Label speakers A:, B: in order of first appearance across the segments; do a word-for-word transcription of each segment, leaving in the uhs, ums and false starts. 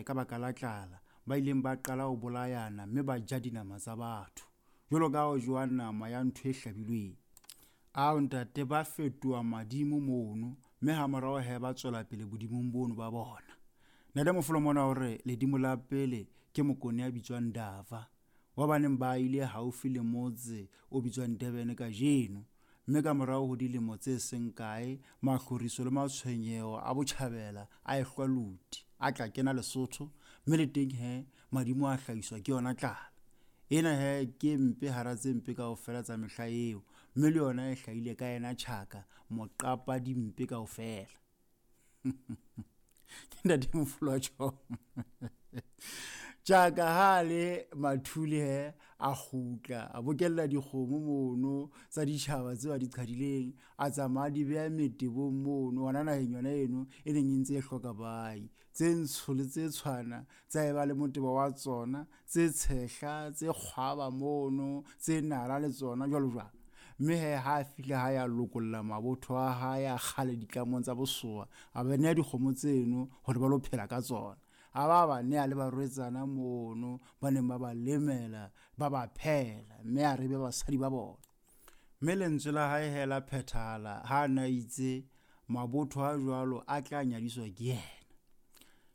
A: he ka baka la tlala ba ileng ba qala ho bolayana mme ba ja dinama tsa batho jwalo ka ho jowa nama ya ntho e hlabilweng. Ao ntate ba fetoha madimo mono mme hamorao he ba tswela pele bodimong bono ba bona. Ntate Mofolo mona hore ledimo la pele ke Mokone ya bitswang Dava wa baneng ba ile haufi le motse o bitswang Durban kajeno, mme ka morao ho dilemo tse seng kae mahloriso le matshwenyeho a botjhabela a ehlwa luti a tla kena Lesotho, mme le teng he madimo a hlahiswa ke yona tlala. Ena he ke mpe hara tse mpe kaofela tsa mehla eo, mme le yona e hlahile ka yena Tjhaka moqapa dimpe kaofela. Ke Ntate Mofolo wa tjhong. Tjhaka ha le mathule he a kgutla a bokella dikgomo mono tsa ditjhaba tseo a di qhadileng, a tsamaya di beha metebong mono hona naheng yona eno e neng e ntse e hloka bai, tse ntsho le tse tshwana tsa eba le motebo wa tsona, tse tshehla tse kgwaba mono, tse nala le tsona jwalo jwalo. Mme he ha a fihla ha ya lokolla mabotho a hae a kgale ditlamong tsa bosowa, a ba neha dikgomo tseno hore ba lo phela ka tsona. A ba ba neha le barwetsana mono ba neng ba ba lemela ba ba phehela, mme a re be basadi ba bona. Mme lentswe la hae he la phethahala ha na itse mabotho a jwalo a tla nyadiswa ke yena.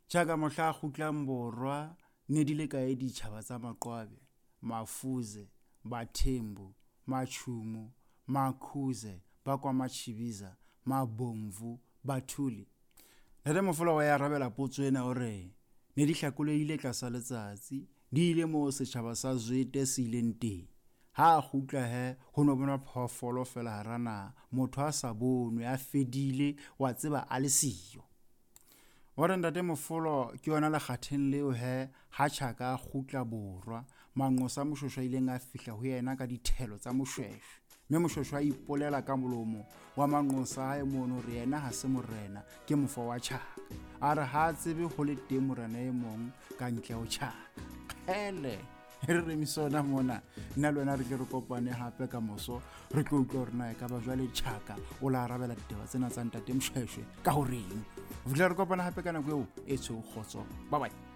A: Tjhaka mohla a kgutlang borwa ne di le kae ditjhaba tsa Maqwabe, Mafuze, Bathembu, Machumu, Makhuze, ba kwa Machibiza, Mabomvu, Bathuli. Ntate Mofolo wa ya arabela potso ena hore ne di hlakolehile tlasa letsatsi, di ile moo setjhaba sa Zwete se ileng teng. Ha a kgutla he ho no bonwa phoofolo fela hara naha, motho a sa bonwe, a fedile, wa tseba a le siyo. Wa re Ntate Mofolo ke yona lekgatheng leo he ha Tjhaka a kgutla borwa, manqosa Moshweshwe a ileng a fihla ho yena ka dithelo tsa Moshweshwe. Mme Moshweshwe a ipolela ka molomo wa manqosa hae mono hore yena ha se morena, ke mofo wa Tjhaka. A re ha a tsebe ho le teng morena e mong ka ntle ho Tjhaka. Kgele, re remise ona mona, nna le wena re tle re kopane hape ka moso, re tlo utlwa hore na ekaba jwale Tjhaka o la arabela ditaba tsena tsa Ntate Moshweshwe ka horeng. Ho fihlela re kopana hape ka nako eo e tshweu kgotso. Bye bye.